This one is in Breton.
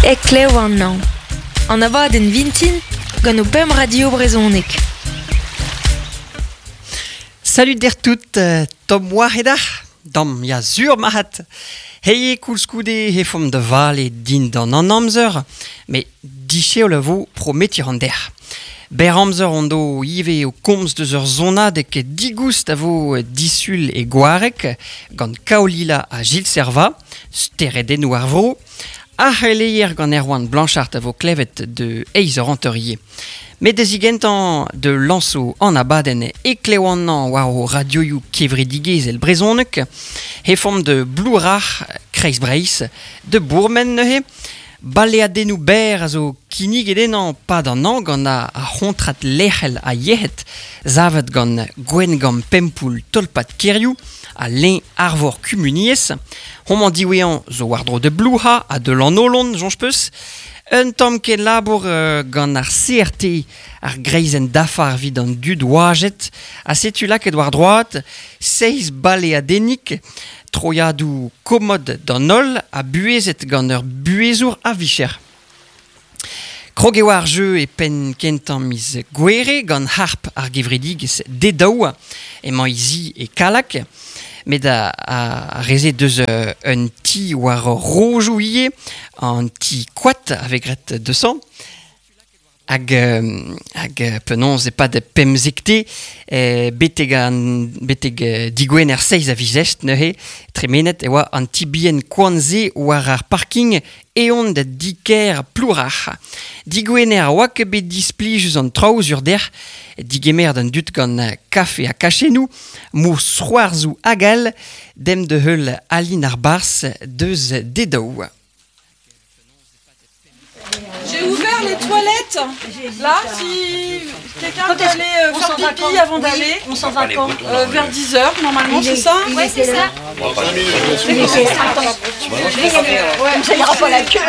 Heklev an hañv. An abadenn vintin gant ho pemp radio brezhonek. Salut der tout, Tom oa hedac'h? Dam, ya sur marc'had. Heie koulskoude he fomp da vale dindan an amzer, met dicheol a vo prometir an derc'h. Berr amzer hon do ivez o komz deus ur sonadeg digoust a vo disul e Gwareg gant Kaolila ha Gilles Servat, steredennoù ar vro. Ar c'heleier gant Erwan Blanchard a vo klevet de eizh eur hanter ivez. Met da zigentañ de lañso an abadenn e klev-an war o radioioù kevredigezhel brezhonek, he fomp de Blourac'h, Kreiz-Breizh, de bourmen neuze. Baleadennoù berr a zo kinniget ennañ 'pad an hañv gant ar c'hontrad lec'hel a yec'hed savet gant Gwengamp Pempoull tolpad kêrioù ha Leñ Arvor Kumuniezh. Homañ diwezhañ zo war-dro da Blouha ha da Lannolon, soñj 'peus. Un tamm kenlabour gant ar CRT, ar greizenn dafar evit an dud oajet, ha setu lakaet war droad seizh baleadennig Troiadoù komod d'an holl ha buhezet gant ur buhezour a-vicher. Krog eo ar jeu e penn kentañ miz Gouere gant harp ar gevredigezh Dedaou. Emañ he zi e Kallag. Met ar re-se deus un ti war rojoù ivez, an ti koad a vez graet deus-hañ. Hag hag penaos e-pad pemzekte betek an betek digwener seizh a viz Est neuze tremenet e oa an ti bihan koant-se war ar parking eon da di-kêr Plourac'h. Digwener a oa ket bet displijus an traoù sur dec'h digemer d'an dud gant kafe ha kachennoù, mousc'hoarzhoù hag all, demp da heul Aline ar Barzh deus Dedaou. J'ai ouvert les toilettes. Là, si quelqu'un veut aller faire pipi avant d'aller. On s'en va quand Vers 10h normalement, c'est ça? Ouais, c'est ça. Attends, ça ira pas la queue.